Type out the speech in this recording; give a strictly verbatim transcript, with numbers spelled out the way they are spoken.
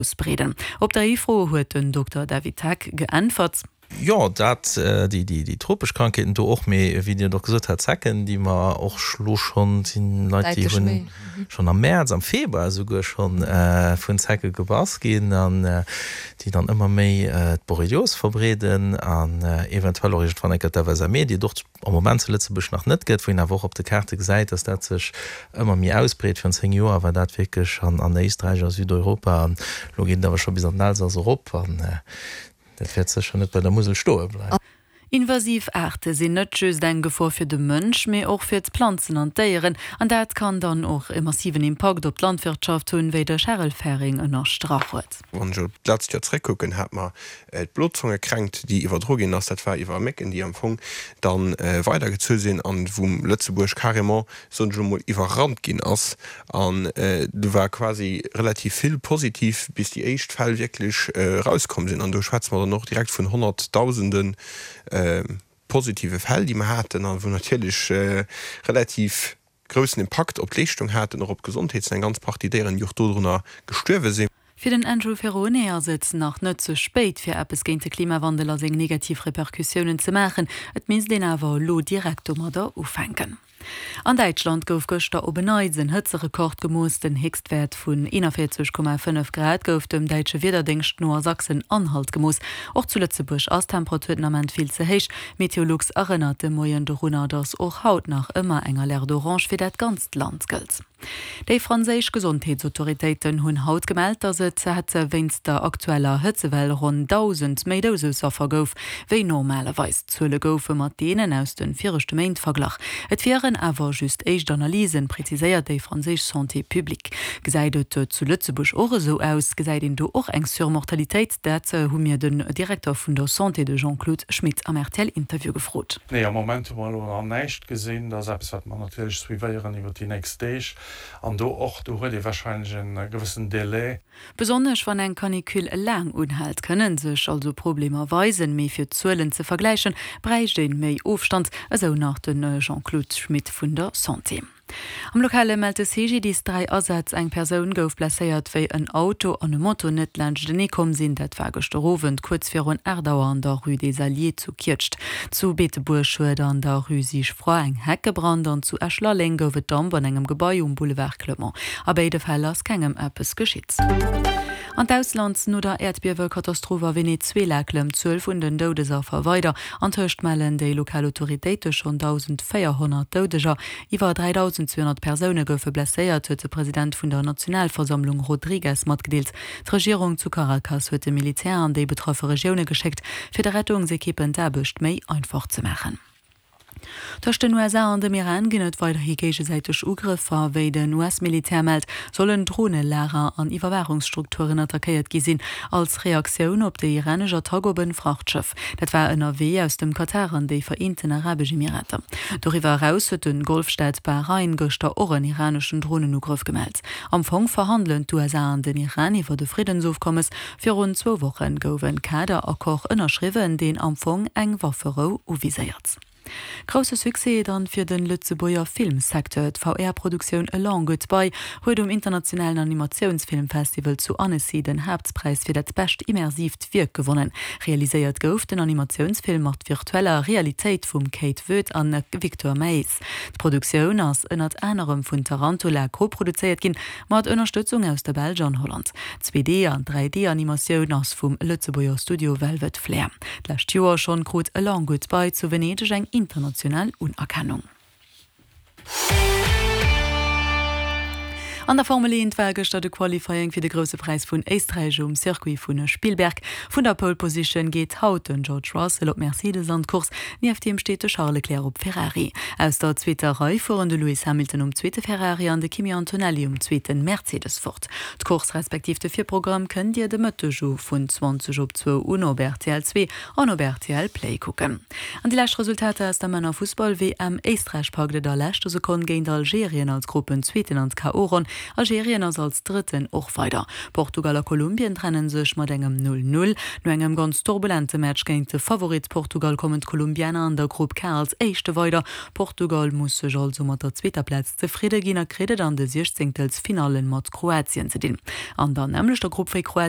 Ausbreeden. Op déi Fro huet den Dokter David Heck geäntwert. Jo, dat, déi, déi, déi tropesch Krankheeten do och, mee wéi Dir och gesot hat, Zecken, déi mer och elo schonn, sinn Leit, déi hunn schonn am Mäerz, am Februar esouguer schonn vun Zecke gebass ginn an déi dann ëmmer méi d'Borrelios verbreeden an eventuell och iergendwann eng Kéier d'F S M E, déi et och am Moment zu Lëtzebuerg nach net gëtt, wou een awer och op de Kaarte gesäit, dass dat sech ëmmer méi ausbreet. Virun zéng Joer war dat wierklech an an Éisträich a Südeuropa an elo geet et awer scho bis an den Elsass erop an dat wäert sécher net bei der Musel stoe bleiwen. Invasiv Aarte sinn net just eng Gefor fir de Mënsch, mee och fir d'Planzen an d'Déieren. An dat kann dann och e massiven Impakt op d'Landwirtschaft hunn, wéi de Charel Ferring ënnerstrach huet. Wann ech op d'letzt Joer zréckkucken, hat mer d'Blozongekränkt, déi iwwerdro ginn ass. Dat war iwwer Mécken, déi am Fong da weidergezu sinn an wou Lëtzebuerg carrément, soen ech elo mol, iwwerrannt ginn ass. An do war quasi relativ vill positiv, bis déi éischt Fäll wierklech erauskomm sinn. An do schwätze mer dann och direkt vun Honnertdausende positive Fäll, déi mer haten a wou natierlech relativ groussen Impakt op d'Leeschtung haten, och op d'Gesondheet, sinn eng ganz Partie Déieren, déi och dodrunner gestuerwe sinn. Fir den Andrew Ferrone ass et nach net ze spéit, fir eppes géint de Klimawandel a seng negativ Repercussiounen ze maachen. Et misst een awer elo direkt domadder ufänken. An Däitschland gouf gëschter op en Neits en Hëtzerekord gemooss. Den Héchstwäert vun eenanvéierzeg Komma fënnef Grad gouf dem däitsche Wiederdéngscht no a Sachsen-Anhalt gemooss. Och zu Lëtzebuerg ass d'Temperatur den Ament vill ze héich. Meteolux erënnert de Moien dorunner, datt och haut nach ëmmer eng Alerte orange fir dat ganzt Land gëllt. Déi franséisch Gesondheetsautoritéiten hunn haut gemellt, datt et hätt wéinst der aktueller Hëtzewell ronn dausend méi Doudesaffer gouf wéi normalerweis. D'Zuele goufe mat deenen aus de viregte Méint verglach. Et wieren awer just éischt Analysen, preziséiert déi franséisch Santé publique. Gesäit et zu Lëtzebuerg och esou aus? Gesäit een do och eng Surmortalitéit? Dat hu mir den Direkter vun der Santé, de Jean-Claude Schmit, am R T L-Interview gefrot. Nee, am Moment hu mer elo nach näischt gesinn. Dat ass eppes, wat mer natierlech suivéieren iwwer déi nächst Deeg. An do och, do huet ee warscheinlech e gewëssen Delai. Besonnesch wann eng Canicule laang unhält, kënne sech also Problemer weisen, mee fir Zuelen ze vergläichen, bräicht een méi Ofstand, esou nach de Jean-Claude Schmit vun der Santé. Am Lokale mellt de C G D I S dräi Asätz. Eng Persoun gouf blesséiert, wéi en Auto an e Moto net laanschtenee komm sinn. Dat war gëschter Owend kuerz virun aacht Auer an der Rue des Alliés zu Kietscht. Zu Beetebuerg huet an der Rue Sigefroid eng Heck gebrannt an zu Esch-Lalleng gouf et Damp an engem Gebai um Boulevard Clement. A béide Fäll ass kengem eppes geschitt. An d'Ausland. No der Äerdbiewekatastroph a Venezuela klëmmt d'Zuel vun den Doudesaffer weider. Antëscht mellen déi lokal Autoritéite schonn dausendvéierhonnert Doudeger. Iwwer dräidausenzweehonnert Persoune goufe blesséiert, huet de President vun der Nationalversammlung Rodriguez matgedeelt. D'Regierung zu Caracas huet de Militär an déi betraffe Regioune geschéckt, fir de Rettungsekippen d'Aarbecht méi einfach ze maachen. Tëscht den U S A an dem Iran ginn et weiderhi géigesäiteg Ugrëffer. Wéi den U S-Militär mellt, sollen Dronelager an Iwwerwaachungsstrukturen attackéiert gi sinn, als Reaktioun op déi iranesch Attack op e Frachtschëff. Dat war ënnerwee aus dem Katar an déi Vereenten Arabesch Emirater. Doriwwer eraus huet de Golfstaat Bahrain gëschter och en iraneschen Dronenugrëff gemellt. Am Fong verhandelen d'U S A an den Iran iwwer e Friddensofkommes. Virun zwou Woche gouf e Kaderaccord ënnerschriwwen, deen am Fong eng Wafferou uviséiert. Grousse Succès dann fir den Lëtzebuerger Filmsecteur. D' V R-Produktioun A Long Goodbye huet um internationalen Animatiounsfilmfestival zu Annecy den Haaptpräis fir dat bescht immersiivt Wierk gewonnen. Realiséiert gouf den Animatiounsfilm mat virtueller Realitéit vum Kate Woet an Victor Maes. D'Produktioun ass ënnert anerem vun Tarantula koproduzéiert ginn, mat Ënnerstëtzung aus der Belsch an Holland. Zwee D an dräi D-Animatioun ass vum Lëtzebuerger Studio Velvet Flair. D'lescht Joer schonn krut A Long Goodbye zu Venedeg eng international Unerkennung. An der Formel eent war gëschter de Qualifying fir de Grousse Präis vun Éisträich um Circuit vun Spielberg. Vun der Pole Position geet haut den George Russell op Mercedes an d'Course, nieft him steet de Charles Leclerc op Ferrari. Aus der zweeter Rei fueren de Lewis Hamilton um zweete Ferrari an de Kimi Antonelli um zweete Mercedes fort. D'Course respektiv de Virprogramm kënnt Dir de Mëtteg vun zwanzeg op zwou un op R T L zwee an op R T L Play kucken. An déi lescht Resultater aus der Männerfussball-W M. Éisträich packt et a leschter Sekonn géint Algerien als Gruppenzweeten an d'K O-Ronn. Algerien ass als Drëtten och weider. Portugal a Kolumbien trenne sech mat engem Null Null. No engem ganz turbulente Match géint de Favorit Portugal kommen d'Kolumbianer an der Grupp K als Éischte weider. Portugal muss sech also mat der zweeter Plaz zefridde ginn a kritt et an de Siechzéngtelsfinalle mat Kroatien ze dinn. An der nämmlechter Grupp wéi Kroatien